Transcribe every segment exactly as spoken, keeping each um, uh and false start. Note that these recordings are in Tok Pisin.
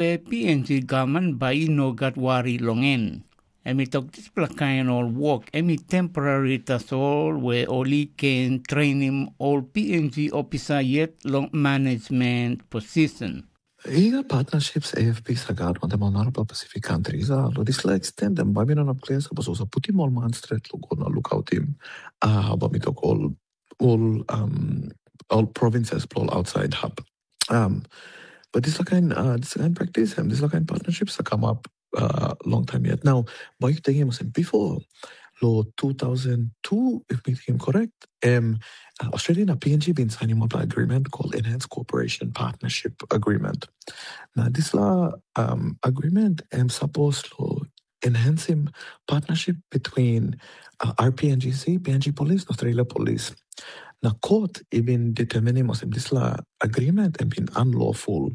pe P N G gavman bai i no gat wari long en. Em i tok dispela kain ol wok em i temporari tasol we ol i ken trenim ol P N G opisa yet long management posisen. I gat partnerships A F P sa gat wantaim ol narapela Pacific countries, a lo dispela extent em bai mi no inap klia sapos ol sa putim ol man stret lo go na lukautim, a bai mi tok ol ol um, ol provinces lo ol outside hub. Um, but dispela kain uh, dispela kain practice em dispela kain partnerships sa come up uh, long time yet. Now, bai yu tingim olsem before lo two thousand two, if mi tingim correct, em uh, Australia na P N G bin signim wanpela agreement called Enhanced Cooperation Partnership Agreement. Na dispela um, agreement em suppose lo enhancing partnership between uh, R P N G C, P N G Police, Australia Police. Na court i bin determinim olsem dispela agreement em bin unlawful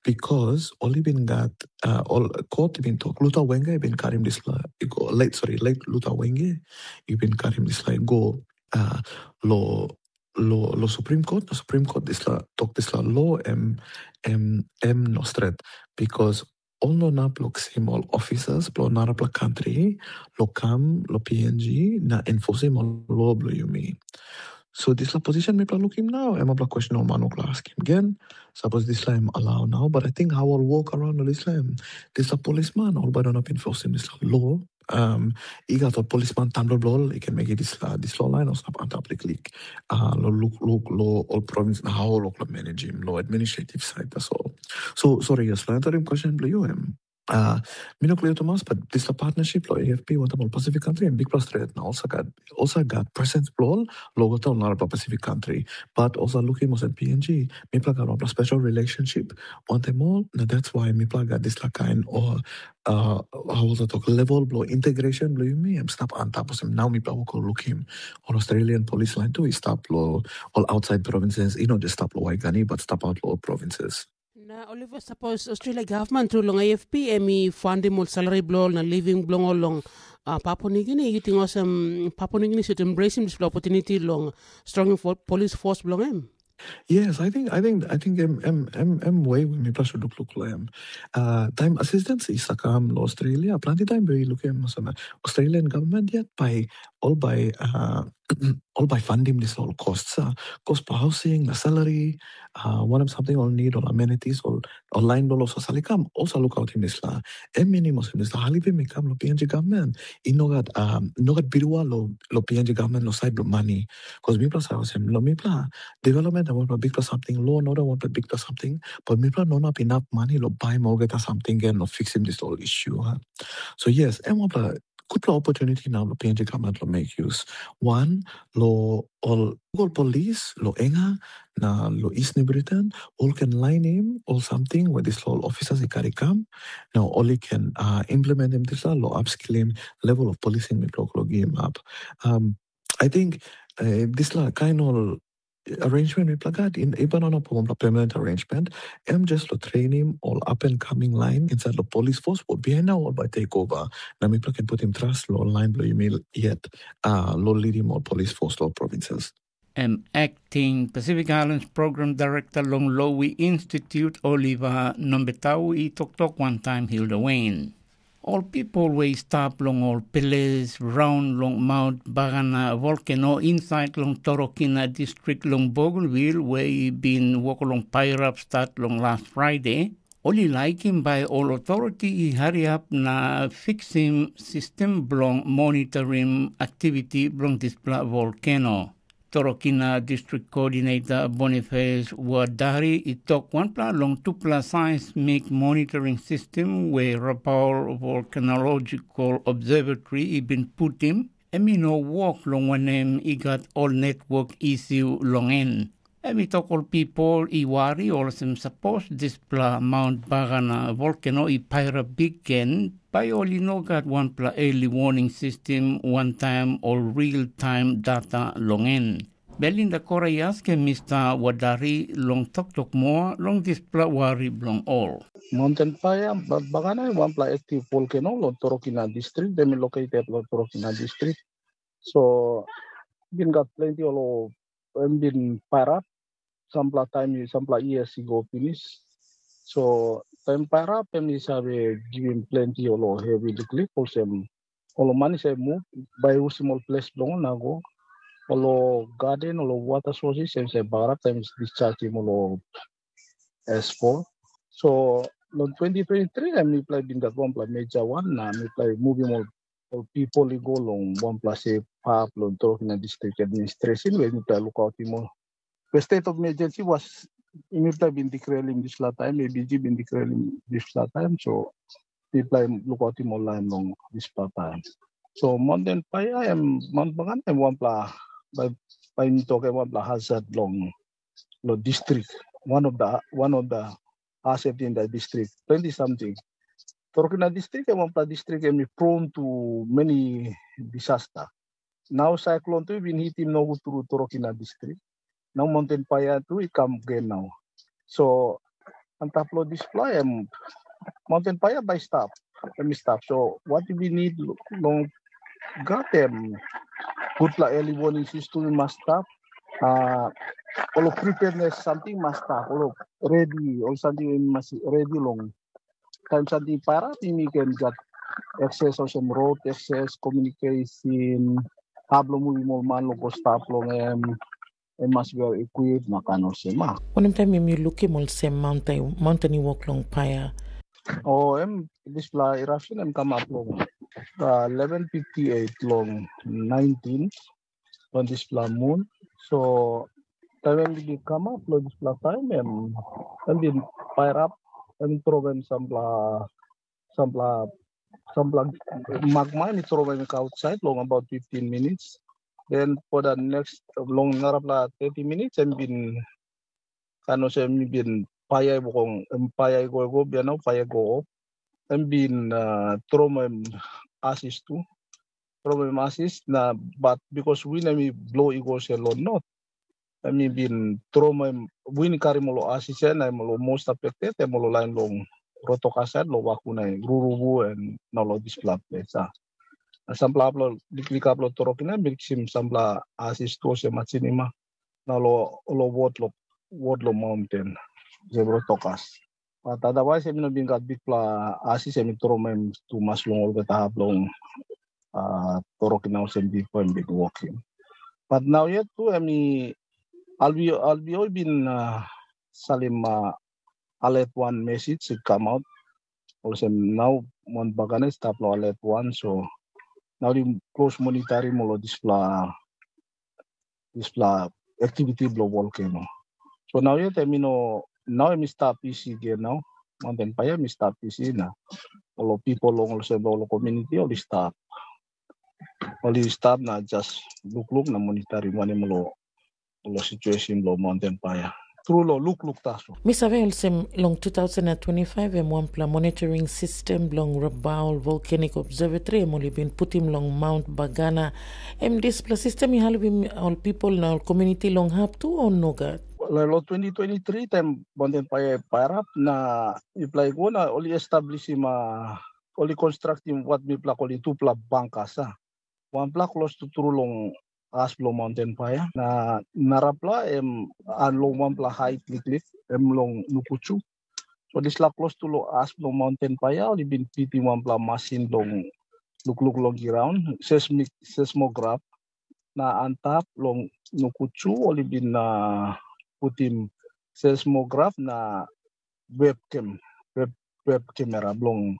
because ol i bin gat uh, ol court i bin tok Luther Wenge i bin karim dispela i go late, sorry, late Luther Wenge i bin karim dispela i go uh, lo lo lo Supreme Court, na Supreme Court dispela tok dispela law em em em no stret because ol no inap lo kisim ol officers bilong narapela country lo kam lo P N G na enforsim ol law bilong yumi. So dispela position mipela lukim nau em mipela question ol man ol askim gen, suppose dispela em allow now, but I think how ol walk around lo dispela em dispela policeman ol bai no inap enforsim dispela law. Um, i gat ol policeman tamlo bilong ol i ken mekim dispela dispela lain ol stap antap liklik uh, lo luk luk lo ol province na how ol lo managim lo administrative side tasol. So sorry, yes, la answerim question bilong yu em uh, mi no klia tumas, but dispela partnership lo A F P wantaim ol Pacific country em bikpela stret na olsa gat olsa gat presence bilong ol lo go taun narapela Pacific country, but olsa lukim olsem P N G mipela gat wanpela special relationship wantaim ol, na that's why mipela gat dispela kain o uh, how was I talk level bilong integration bilong yumi em stap antap olsem nau mipela wok lukim ol Australian police line tu i stap lo ol outside provinces, i no just stap lo Waigani but stap out lo ol provinces. Na Oliver, sapos Australia gavman tu long A F P em i fandim ol salary bilong ol na living bilong ol long uh, Papua New Guinea, you think olsem Papua New Guinea should embrace dispela opportunity long strong for police force bilong em? Yes, I think I think I think em em em em way we mipela should look look lo em. Uh, time assistance is a kam lo Australia. Planti time we look em so Australian government yet by all by uh, all by funding this all costs. Uh, cost for housing, the salary, uh, one of something all need all amenities all online bilong ol sasali kam also look out in this la. Em minimum in this la. Halibi mi kam lo P N G government. I no gat um, no gat birua lo lo P N G government lo side lo money. Because mipela sa olsem lo mipela development and wanpela bikpela something, law and order wanpela bikpela something, but mipela no inap enough money lo buy olgeta something gen lo fixim this whole issue. Huh? So yes, em wanpela gutpela opportunity now lo P N G government lo make use. One, lo ol ol police lo Enga na lo East New Britain, ol can line him or something where this law officers i carry come. Now only can uh, implement him this law, lo upskilling level of policing mipela lo give him up. Um, I think uh, this la kind of arrangement mipela gat in even on a permanent arrangement, em just lo training all up and coming line inside the police force for behind now all by take over. Na mipela can put him trust lo line below you yet uh, lo lead him all police force lo provinces. Em acting Pacific Islands Program Director long Lowy Institute, Oliver Nombetau, i toktok wantaim Hilda Wayne. Ol pipel we i stap long ol ples raun long Mount Bagana volkeno insait long Torokina distrik long Bougainville we i bin wok long pairap stat long las Fraide, ol i laikim bai ol otoriti i hariap na fiksim sistem bilong monitorim aktiviti bilong dispela volkeno. Torokina District Coordinator Boniface Wadari i tok wanpela long tupela seismic monitoring system we Rabaul Volcanological Observatory i bin putim, em i no wok long wanem i gat ol network issue long en. Em i tok ol pipel i wari olsem sapos dispela Mount Bagana volcano i pairap bikgen, bai ol i no gat wanpela early warning system wantaim ol real time data long en. Belinda Kora i askim Mista Wadari long toktok moa long dispela wari bilong ol. Mountain Fire, Bagana, wanpela active volcano long Torokina District, em i located long Torokina District. So, bin gat plenty ol em bin pairap sampela taim sampela years i go pinis. So Taim pairap em i save givim planti ol hevi liklik, olsem ol man i save muv bai i usim ol ples bilong ol na go. Ol garden, ol water sources em save bagarap taim i dischargim ol S four. So long twenty twenty-three em mipela i bin gat wanpela major wan na mipela i muvim ol ol pipel i go long wanpela safe hap long Torokina District Administration, where mipela lukautim ol. The state of emergency was mipela bin declareim dispela taim, A B G bin declareim dispela taim, so mipela i lukautim ol lain long dispela taim. So Mountain Fire em Mount Bagan em wanpela bai bai mi tok em wanpela hazard long lo district, one of the one of the hazard in the district. Plenty something. Torokina district em wanpela district em i prone to many disaster. Now cyclone tu i bin hitim nogut tru Torokina district. Now Mountain Fire tu i kam gen now. So antap lo dispela em Mountain Fire bai stap, em i stap. So what we need long gat em gutpela early warning system i mas stap. Uh, ol preparedness something mas stap, ol ready, ol something mas ready long taim something pairap, yumi ken gat access olsem road access, communication, hap long muvim ol man long go stap long em, em mas well equipped na kain olsem a. Wanem taim em yu lukim olsem mauntain mauntain i wok long paia? O em dispela eruption em kamap long uh, eleven fifty-eight long nineteen long dispela moon. So taim em bin kamap long dispela taim em em bin pairap, em tromem sampela sampela sampela magma em i tromem i go outside long about fifteen minutes. Then for the next long narapela thirty minutes em bin kain olsem mi bin paia i wokong em paia i go i go bian nau paia i go op. Em bin uh, tromem asis tu, tromem asis na but because win em i blo i go se long not, em i bin tromem win i karim ol asis ya na em ol most affected em ol lain long rotoka sait long wakuna ruruvu en na long dispela ples a. Na sampela hap long liklik hap long torokina em bin kisim sampela asis tu olsem machinima na long wod long wod long maunten olsem rotokas. But otherwise em i no bin gat bikpela asis em i tromem tumas long olgeta hap long uh, torokina olsem bipo em bin wokim. But nau yet tu em i albio albio i bin uh, salim uh, alet wan mesij i kamaut olsem nau Mount Bagane i stap long alet wan, so nau dim klos monitarim ol dispela dispela aktiviti bilong volkeno. So nau yet em i no nau em i stap isi gen nau, maunten paia em i stap isi na ol pipel long olsem ol komuniti ol i stap ol i stap na jas lukluk na monitarim wanem ol long situesin bilong maunten paia. Tru long lukluk tasol. Mi save olsem long two thousand and twenty-five em wanpela monitoring sistem bilong Rabaul Volcanic Observatory em ol i bin putim long Mount Bagana. Em dispela sistem i helpim ol pipel na ol komuniti long hap tu o nogat? Long twenty twenty-three taim maunten paia i pairap na mipela i go na ol i establisim ol i konstraktim wat mipela kolim tupela bangkas a. Wanpela klostu tru long as bilong maunten paia na narapela em long wanpela hait liklik em long nukuchu. So dispela klostu long as bilong maunten paia ol i bin pitim wanpela masin bilong lukluk long graun, seismik seismograf, na antap long nukuchu ol i bin uh, putim seismograf na webcam, web, web kamera bilong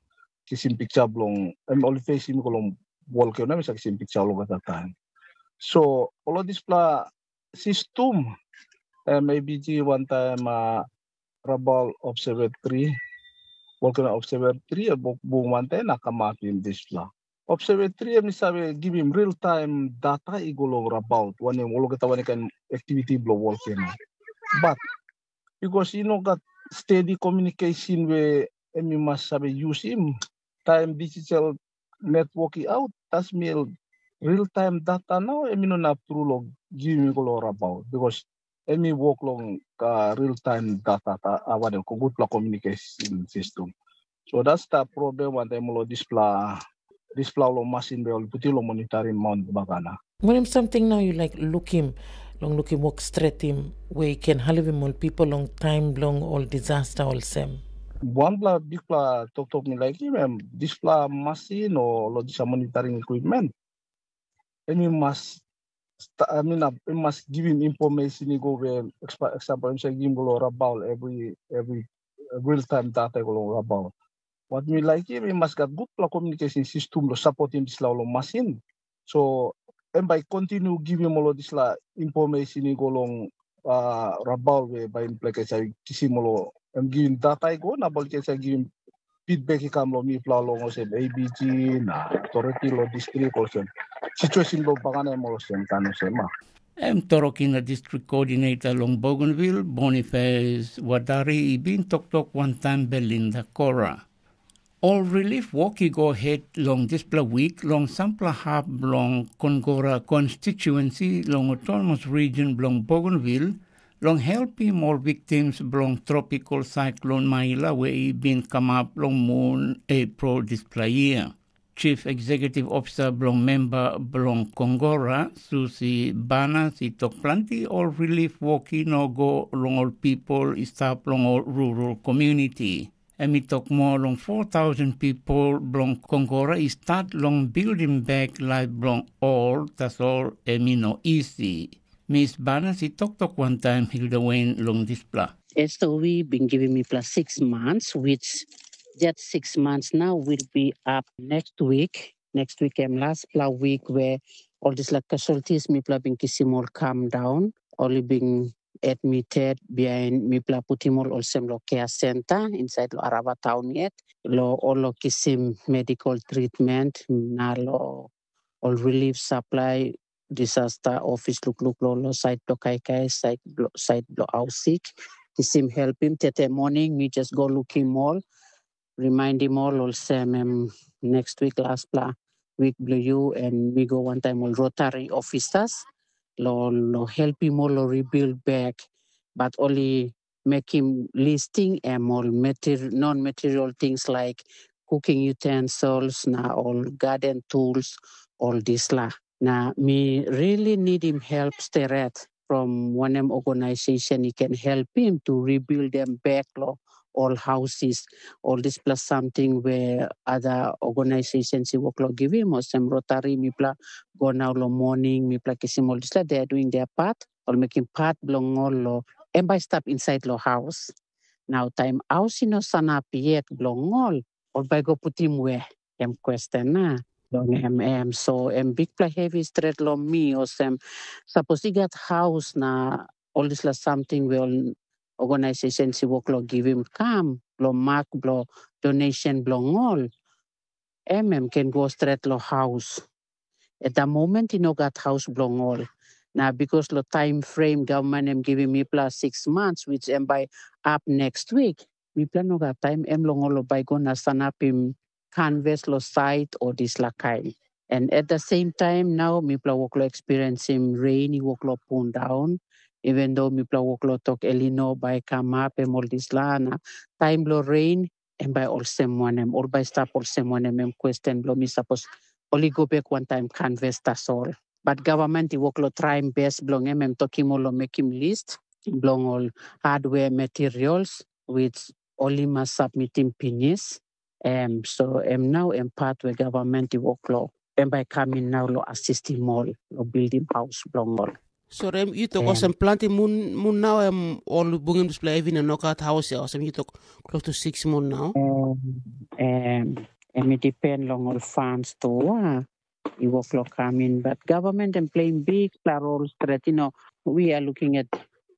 kisim piksa bilong em ol i fesim i go long wol kamera em i save kisim piksa olgeta taim. So ol dispela sistem em A B G wantaim uh, Rabal Observatory, Volcano Observatory, bung wantaim na kamapim dispela. Observatory em i save givim real time data i go long rabaut wanem olgeta wanem kain aktiviti bilong volcano. But bikos i no gat stedi kominikeisin we em i mas save yusim, taim digital netwok i aut, tasmil real time data nau em i no inap tru long givim i go long rabaut bikos em i wok long uh, real time data, uh, wanem, gutpela communication system. So that's the problem wantaim ol dispela dispela ol masin be ol putim long monitoring Mount Bagana. Wanem samting nau yu laik lukim long lukim wok stretim we i ken helpim ol pipel long taim bilong ol disaster olsem? Wanpela bikpela toktok mi laikim em, dispela masin o lo disa monitoring equipment, em i mas, I mean, em mas givim information i go we example em save givim go long Rabaul every every real time data i go long Rabaul. Wat mi laikim, i mas gat gutpela communication system lo supportim dispela ol masin. So em bai continue givim ol dispela information i go long uh, Rabaul we bai mipela i save kisim ol em givim data i go na bai ol i save givim feedback i kam long mipela long olsem A B G na authority long district olsem situation long bagarapim olsem kan olsem ma. Em Torokina District Coordinator long Bougainville, Boniface Wadari i bin toktok wantaim Belinda Kora. Ol relief wok i go het long dispela wik long sampela hap bilong Kongora konstituensi long autonomous region bilong Bougainville long helpim ol victims bilong tropical cyclone Maila we i bin kamap long mun April dispela year. Chief Executive Officer bilong memba bilong Kongora, Susi Banas, i tok planti ol relief wok i no go long ol pipol i stap long ol rural community. Em i tok moa long four thousand pipol bilong Kongora i stat long bildim bek laip bilong ol, tasol em i no isi. Mis Banas i toktok wantaim Hilda Wayne long dispela. Esta wi bin givim mipela six months, which that six months now will be up next week. Next week em lastpela week where ol dispela casualties mipela bin kisim ol kam daun. Ol i bin admitted bihain mipela putim ol olsem lo care center inside lo Arava town yet. Lo ol lo kisim medical treatment na lo ol relief supply disaster office lukluk lo lo sait bilong kaikai, sait bilong hausik, kisim helpim. Tete moning mi just go lukim ol, rimaindim ol olsem em next week lastpela week bilong yu, en mi go wantaim ol Rotary officers lo lo helpim ol lo rebuild back, but ol i mekim listing em ol non-material things like cooking utensils na ol garden tools, ol disla. Na mi really nidim help steret from wanem organization i ken helpim to rebuild them back lo ol houses, ol dispela samting we other organizations i wok lo givim, olsem Rotary, mipela go nau lo morning, mipela kisim ol dispela, they are doing their part, ol mekim part bilong ol lo em bai stap insait lo haus. Nau taim haus i no sanap yet bilong ol, ol bai go putim we? Em question na. Long em em so em bikpela hevi stret long mi olsem, sapos i gat haus na ol dispela samting we ol organization i wok long givim kam long mak bilong donation bilong ol, em em ken go stret long haus. At da moment i no gat haus bilong ol. Na bikas long taim frem gavman em givim mipela six months, which em bai ap next week, mipela no gat taim em long ol bai go na sanapim kanves long sait o dispela kain. And at the same time nau mipela wok long experiensim rein i wok long pundaun, even though mipela wok long tok elino bai kamap em ol dispela na taim bilong rein, em bai olsem wanem, ol bai stap olsem wanem, em question bilong mi, sapos ol i go bek wantaim kanves tasol. But gavman i wok long traim bes bilong em, em tokim ol long mekim list bilong ol hardware materials which ol i mas submitim pinis. Em so em nau em pat we gavman i wok long em bai kam in nau long asistim ol long bildim haus bilong ol. So em yu tok olsem planti mun mun nau em ol bungim dispela hevi na nogat haus ya, olsem yu tok close to six mun nau. Em em i depend long ol funds tu a i wok long kam in, but government em playim bikpela rol stret, you know, we are looking at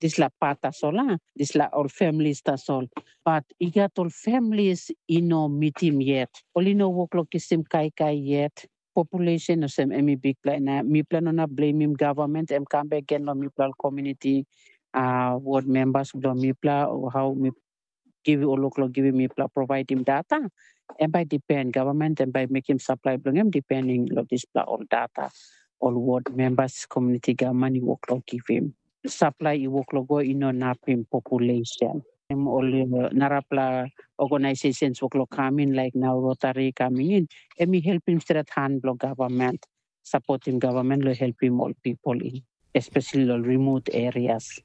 dispela pat tasol a dispela ol families tasol. But i gat ol families i no mitim yet, ol i no wok long kisim kaikai yet. Population olsem em i bikpela, na mipela no inap blemim gavman, em kam bek gen long mipela ol komuniti, uh, ward members bilong mipela, o how mi givim ol wok long givim mipela provaidim data. Em bai depend, gavman em bai mekim supply bilong em depending long dispela ol data ol ward members, komuniti gavman i wok long givim. Supply i wok long go i no inapim population. Em ol narapela organizations wok long kam in, laik nau Rotary coming in, em i helpim stret han bilong gavman, sapotim gavman long helpim ol pipol i, especially ol remote areas.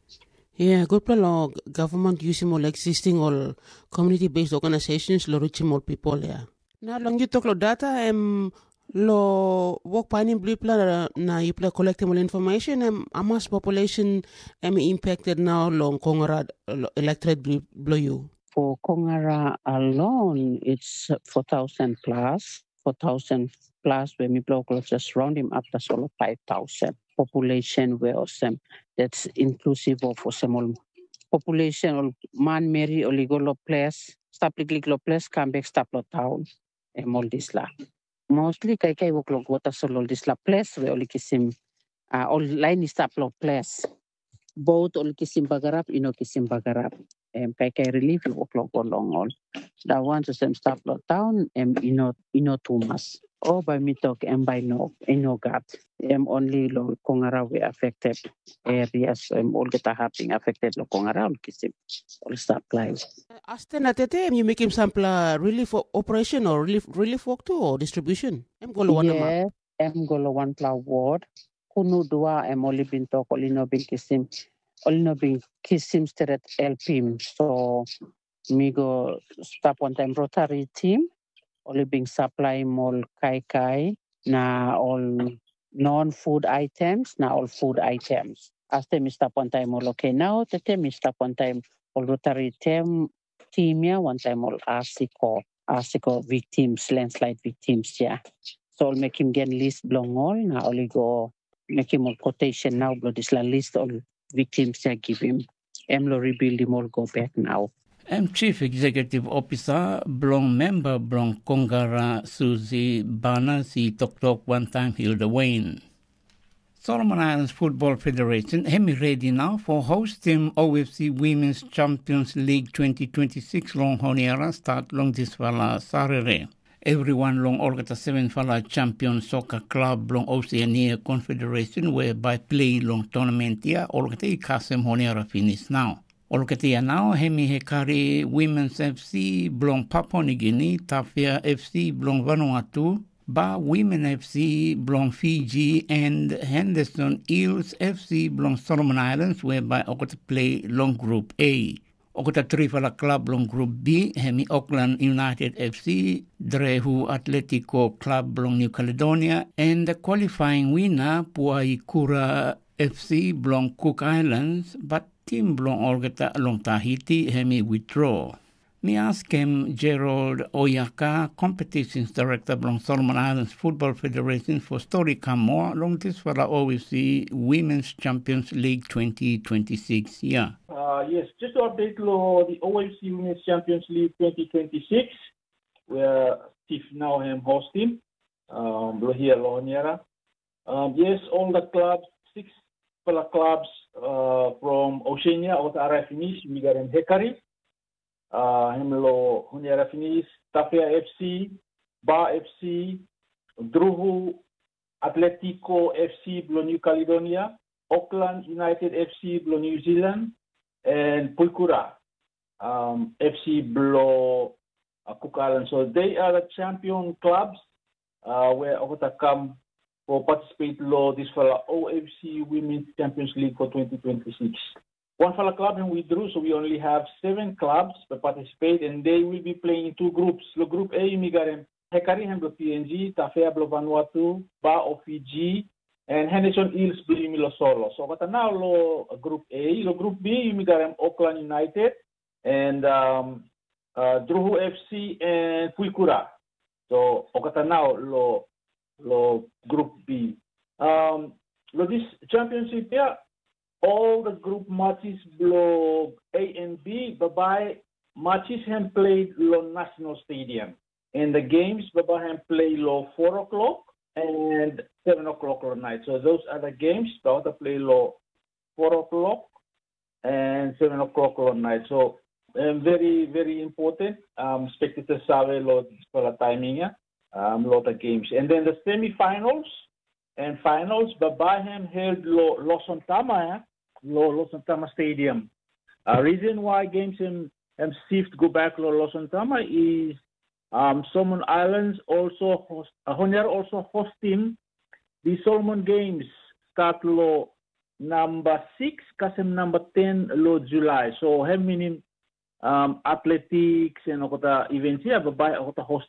Yeah, gutpela lo government yusim ol existing ol community-based organizations lo reachim ol people ya. Na long yu tok lo data em lo wok painim bilipela na yupela collectim ol information em amas population em impacted now long Kongara electorate bilong you. For Kongara alone, it's four thousand plus, four thousand plus where mipela just round him up, that's all five thousand. Population where osem, that's inclusive of osem all population, all man meri, all go lo place, stap liklik lo place, come back stap lo town. Em all this la. Mostly kaikai wok lo water sol all this la place where all kisim, uh, all line is stap lo place. Both ol kisim bagarap, ino kisim bagarap. Em kaikai relief i wok long go long ol. Da wan sem stap lo town, em ino ino tumas. O bai mi tok em bai no, ino gat. Em only lo Kongara we affected areas, em olgeta haping affected lo Kongara ol kisim ol supply. Aste na tete em you mekim sampela relief operation or relief relief work tu or distribution? Em go lo one yeah, em go lo one pla ward. Kunu dua em oli bin tok oli no bin kisim, oli no bin kisim stret helpim. So mi go stap wantaim Rotary team, oli bin saplaim ol kaikai na ol non-food items na ol food items. Aste mi stap wantaim ol, okay, nau tete mi stap wantaim ol Rotary tem, tim ya wantaim ol asiko, asiko victims, landslide victims ya. So ol mekim gen list bilong ol na ol i go mekim ol quotation nau bilong dispela list ol victims ya givim. Em lo rebuildim ol go back nau. Em Chief Executive Officer bilong memba bilong Kongara Suzy Banas i toktok wantaim Hilda Wayne. Solomon Islands Football Federation em i redi nau for hostim O F C Women's Champions League twenty twenty-six long Honiara start long dispela Saturday. Everyone long olgeta sevenfala champion soka klab bilong Oceania Confederation we bai plei long tournament ya olgeta i kasem Honiara pinis nau. Olgeta ya nau em i hekari Women's F C bilong Papua Nigini, Tafia F C bilong Vanuatu, Ba Women F C bilong Fiji, and Henderson Eels F C bilong Solomon Islands we bai olgeta plei long grup A. Olgeta trifala klab bilong grup B, em i Auckland United F C, Drehu Atletico Club bilong New Caledonia, and qualifying winner Puaikura F C bilong Cook Islands, but tim bilong olgeta long Tahiti em i withdraw. Mi askim Gerald Oyaka, Competitions Director bilong Solomon Islands Football Federation for stori kam moa long dispela O F C Women's Champions League twenty twenty-six. Yeah. Uh, yes, just to update lo the O F C Women's Champions League twenty twenty-six, where Steve now hem hosting, um, lo here lo Honiara. Um, yes, all the clubs, six pela clubs uh, from Oceania, olgeta arai pinis, we got in Hekari, uh, hem lo Honiara pinis, Tafea F C, Ba F C, Druhu Atletico F C bilong New Caledonia, Auckland United F C bilong New Zealand, and Puikura um, F C bilong uh, Cook Island. So they are the champion clubs uh, where olgeta come for participate lo dispela O F C Women's Champions League for twenty twenty-six. One fala club and withdrew, so we only have seven clubs that participate, and they will be playing in two groups. Lo group A, yumi got Hekari hem bilong P N G, Tafea bilong Vanuatu, Ba of Fiji, and Henderson Eels bilong yumi lo Solo. So olgeta nau lo group A, lo group B, yumi got Auckland United, and um, uh, Druhu F C and Puikura. So olgeta nau lo lo group B. Um, lo this championship here, all the group matches below A and B, bye-bye matches hem played lo National Stadium. And the games bye-bye hem play lo four o'clock and seven o'clock lo night. So those are the games that play lo four o'clock and seven o'clock lo night. So um, very, very important. Um, spectators save lo dispela timing ya, um, lo the games. And then the semifinals and finals, bye-bye hem held lo Losontama ya, lo Losontama Stadium. Uh, reason why games hem, hem shift go back lo Losontama is um, Solomon Islands also host, uh, Honiara also hosting the Solomon Games start lo namba six kasem namba ten lo Julai. So hem minim um, athletics and okota events ya, babai okota host